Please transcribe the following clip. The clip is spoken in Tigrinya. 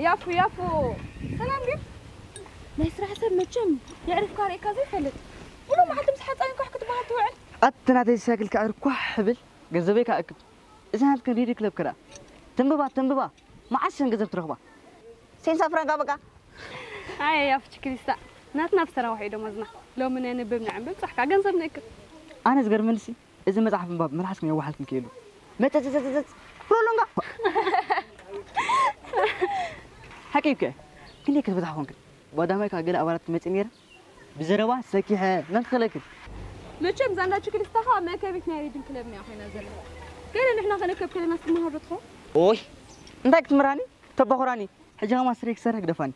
ያፉ ያፉ፣ ሰላም ድዩ? ናይ ስራሕ ሰብ መቸም የዕርፍካ ርእካ ዘይፈልጥ፣ ሙሉ መዓልቲ ምስ ሓፃዊን ኳሕ ክትበሃል ትውዕል። ኣቲ ናተይ ሳይክል ከዕርፍ ኳሕ ብል ገንዘበይ ከኣክብ። እዚ ናትክን ሪዲ ክለብ ክዳ ትንብባ ትንብባ፣ መዓስ ሸን ገንዘብ ትረኽባ? ሴንሳ ፍራንካ በቃ። ኣየ ያፉ ችክሊስታ፣ ናትና ብሰራውሕ እዩ ደሞዝና። ሎሚ ነንብብ ንዕንብብ፣ ፃሕካ ገንዘብ ንእክብ። ኣነ ዝገርመንሲ፣ እዚ መጽሓፍ ምንባብ መልሓስኩም የዋሓልኩም ከይሉ መጸጸጸጸጸ ሮሎንጋ። ሓቂ እኮ። ክንደይ ክትበዝሓ ኮንክን? ባዳማይ ካብ ገለ ኣባላት ክመጽእ ነይረ። ብዘረባ ሰኪሐ መን ክኽለክን? መቸም ዛንዳ ችክሊስታኻ መከቢት ናይ ሪድን ክለብ እያ ኮይና ዘላ። ገለ ንሕና ከነከብ ከለና ስትመሃር ዶ ትኸውን? ኦይ፣ እንታይ ክትምራኒ? ተባኹራኒ። ሕጂ ኸማ ስረይ ክሰርሕ ግደፋኒ።